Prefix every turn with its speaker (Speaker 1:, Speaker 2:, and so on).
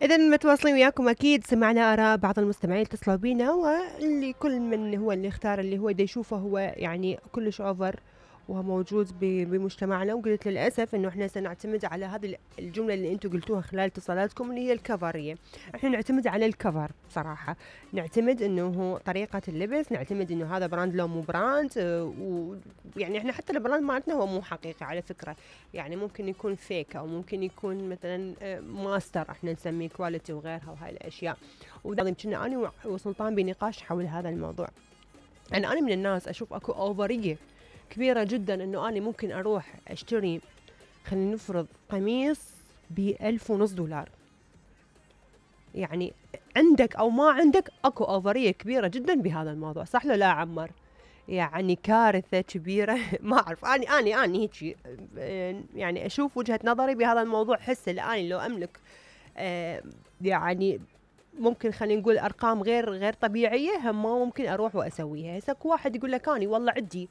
Speaker 1: إذا متواصلين وياكم أكيد سمعنا آراء بعض المستمعين اتصلوا بينا، واللي كل من هو اللي اختار اللي هو دا يشوفه هو يعني كلش أوفر وهو موجود بمجتمعنا. وقلت للأسف إنه إحنا سنعتمد على هذه الجملة اللي أنتم قلتوها خلال اتصالاتكم اللي هي الكفرية. إحنا نعتمد على الكفر صراحة، نعتمد إنه هو طريقة اللبس، نعتمد إنه هذا براند لو مو براند. ويعني إحنا حتى البراند مالتنا هو مو حقيقي على فكرة، يعني ممكن يكون فيك أو ممكن يكون مثلا ماستر احنا نسميه كواليتي وغيرها وهاي الأشياء. وذا كنا أنا وسلطان بنقاش حول هذا الموضوع. أنا من الناس أشوف أكو أوفرية كبيرة جدا إنه أنا ممكن أروح أشتري، خلينا نفرض قميص ب$1,500. يعني عندك أو ما عندك أكو أوفرية كبيرة جدا بهذا الموضوع، صح لا عمر؟ يعني كارثة كبيرة. ما أعرف، أنا هيك يعني أشوف وجهة نظري بهذا الموضوع. حس الآن لو أملك يعني ممكن خلينا نقول أرقام غير طبيعية، هم ما ممكن أروح وأسويها. هسه واحد يقول لك أنا والله عندي